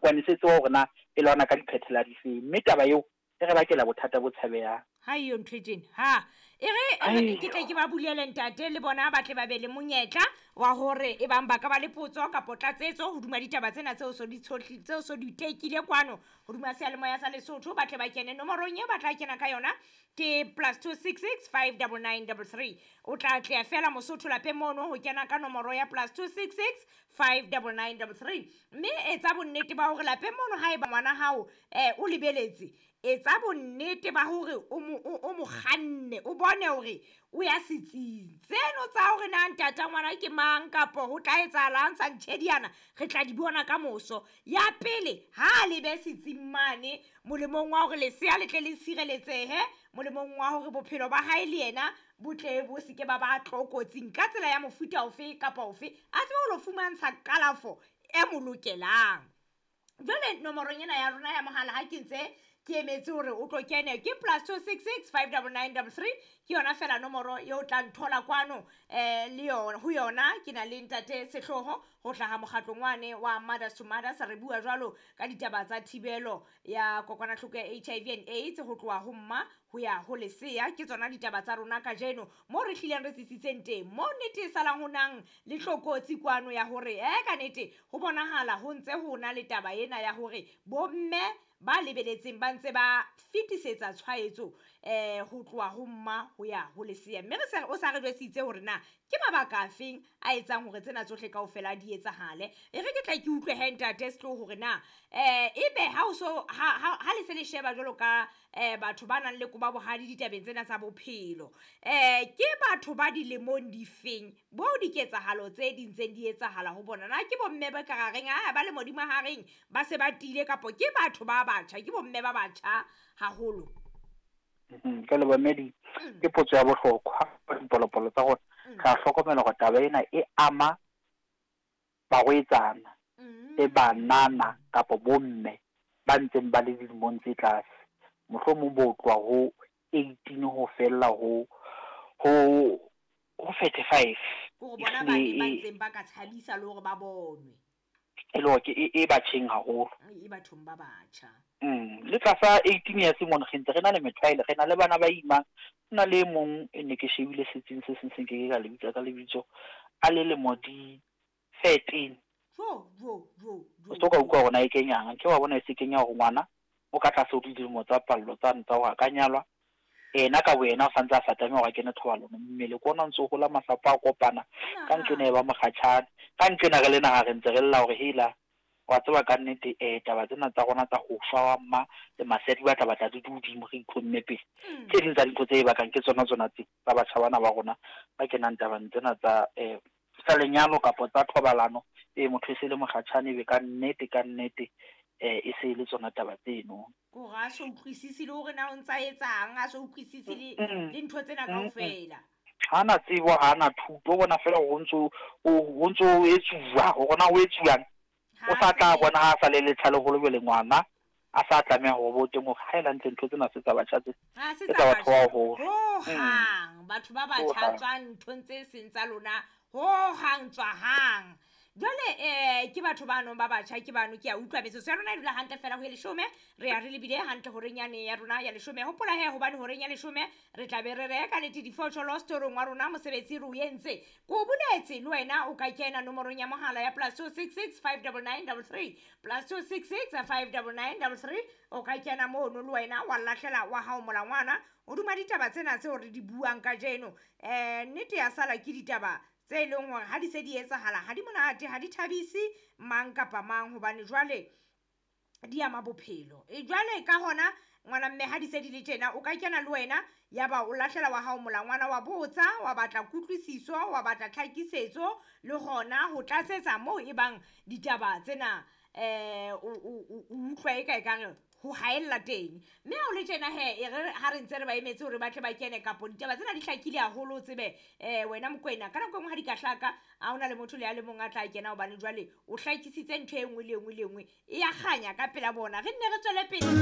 Senokwane se tseba hore na e lwana ka diphethela difeng, mme taba eo e re bakela bothata bo tshabehang. Ha eyo ntho e tjena. Ha e re ke tle ke ba bulele ntate le bona ba tle ba be le monyetla wa hore e bang ba ka ba le potso kapo tlatsetso hodima ditaba tsena tseo so di tshohli tseo so di tekile kwano hodima seyalemoya sa Lesotho, ba tle ba kene nomorong eo ba tla kena ka yona ke +266 599 33. O tla tleha fela Mosotho lapeng mono ho kena ka nomoro ya +266 599 33. Mme etsa bonnete ba hore lapeng mono haeba ngwana hao o lebeletse, etsa bonnete ba hore o mo kganne, o bone hore o ya setsing. Tseno tsa hore na ntata ngwana ke mang kapo ho tla etsahalang sa ntjhediana, re tla di bona ka moso. Ya pele, ha lebe setsing mane molemong wa hore lesea le tle le sireletsehe, molemong wa hore bophelo ba hae le yena bo tle bo se ke ba ba tlokotsing ka tsela ya mofuta ofe kapa ofe, a tsebe ho lo fumantsha kalafo e mo lokelang. Jwale nomorong ena ya rona ya mohala ha ke ntse ke emetse hore o tlo kene ke +266 599 33, ke yona fela nomoro eo tla nthola kwano le yona ho yona. Ke na le ntate Sehloho ho hlaha mokgatlong wane wa Mothers to Mothers. Re bua jwalo ka ditaba tsa thibelo ya kokwanahloko ya HIV and AIDS ho tloha ho mma ho ya ho lesea. Ke tsona ditaba tsa rona kajeno moo re hlileng re tsitsitseng teng, moo nnete e salang ho nang le tlokotsi kwano ya hore ka nnete ho bonahala ho ntse ho na le taba ena ya hore bomme ba lebeletseng ba ntse ba fetisetsa tshwaetso ho tloha ho mma ho ya ho lesea. Mme re se o sa re jwetsitse hore na ke mabaka afeng a etsang hore tsena tsohle kaofela di etsahale. E re ke tle ke utlwe he ntate Sehloho hore na ebe ha o so ha le se le sheba jwalo ka batho ba nang le koba bohadi ditabeng tsena tsa bophelo, ke batho ba dilemong difeng bo diketsahalo tse di ntseng di etsahala ho bona? Na ke bomme ba ka reng a ba le modimo hareng ba se ba tiile, kapo ke batho ba batjha, ke bomme ba batjha haholo? Ke le bomme ke potso ya bohlokwa. Dipolopolo tsa rona re a hlokomela hore taba ena e ama barwetsana le banana kapa bomme ba ntseng ba le dilemong tse tlase, mohlomong bo tloha ho 18 ho fella ho 35. Hore bona ba ne ba ntseng ba ka tshabisa le hore ba bonwe. E le hore ke e batjheng haholo. E bathong ba batjha. Le tlasa 18 years mona re ntse re na le methwaele, re na le bana ba imang. Ho na le e mong e ne ke shebile setsing se seng se nke ke ka lebitsa ka lebitso, a le lemo di 13. Jo jo jo jo. O se ka utlwa hore na e kenyang, ke wa bona e se kenya hore ngwana o ka tlase ho dilemo tsa pallo tsa ntsa hore a ka nyalwa. Ena ka boyena o santse a sa tlameha hore a kene thobalano, mmele ke ona o ntso hola, masapo a kopana, ka nqena e ba mokgatjhane. Ka nqena re le naha re ntse re lla hore hela wa tseba ka nnete taba tsena tsa rona tsa ho shwa wa mma le masea di batla batla di hodimo, re itlhomme pele. Tse ding tsa dintho tse e bakang ke tsona tsona tse tsa batjha bana ba rona ba kenang tabeng tsena tsa tsa lenyalo kapa tsa thobalano. Motho e se le mokgatjhane ebe ka nnete ka nnete e se le tsona taba tseno. Kore a so utlwisise le hore na o ntsa etsang, a so utlwisise le ntho tsena kaofela. Ha na tsebo, ha na thuto, o bona fela hore o ntso o etsuwa, hore na o etsuwang. O sa tla bona ha sa le letjha leholo jwale ngwana a sa tlameha hore bo teng hore ha e hantle ntho tsena se tsa batjha tse. Ha se tsa batho ba baholo. Hohang batho ba batjha tswang nthong tse seng tsa lona, hohang tswa hang. Jwale ke batho ba nong ba batjha ke bano, ke a utlwa metsotso ya rona e dula hantle fela ho e 10, re ya re lebile hantle horeng yane ya rona ya 10. Hopola he hobane horeng ya 10 re tla be re reka nnete difosholo storong wa rona, mosebetsi re o entse. Ko o boletse le wena o ka kena nomorong ya mohala ya +266 599 33, +266 599 33, o ka kena mono le wena wa lahlela wa hao molangwana hodima ditaba tsena tseo re di buang kajeno. Nnete ya sala ke ditaba tse leng hore ha di se di etsahala ha di monate, ha di thabise mang kapa mang, hobane jwale di ama bophelo. E jwale ka hona ngwana mme ha di se di le tjena, o ka kena le wena ya ba o lahlela wa hao molangwana, wa botsa, wa batla kutlwisiso, wa batla tlhakisetso le hona ho tlatsetsa moo e bang ditaba tsena o utlwa e ka ekare ho haella teng. Mme ha o le tjena he, e re ha re ntse re ba emetse hore ba tle ba kene, kapo ditaba tsena di hlakile haholo, o tsebe wena Mokoena ka nako e nngwe ha di ka hlaka ha hona le motho le a le mong a tla kena, hobane jwale o hlakisitse ntho e nngwe le e nngwe le e nngwe e ya kganya ka pela bona. Re nne re tswele pele.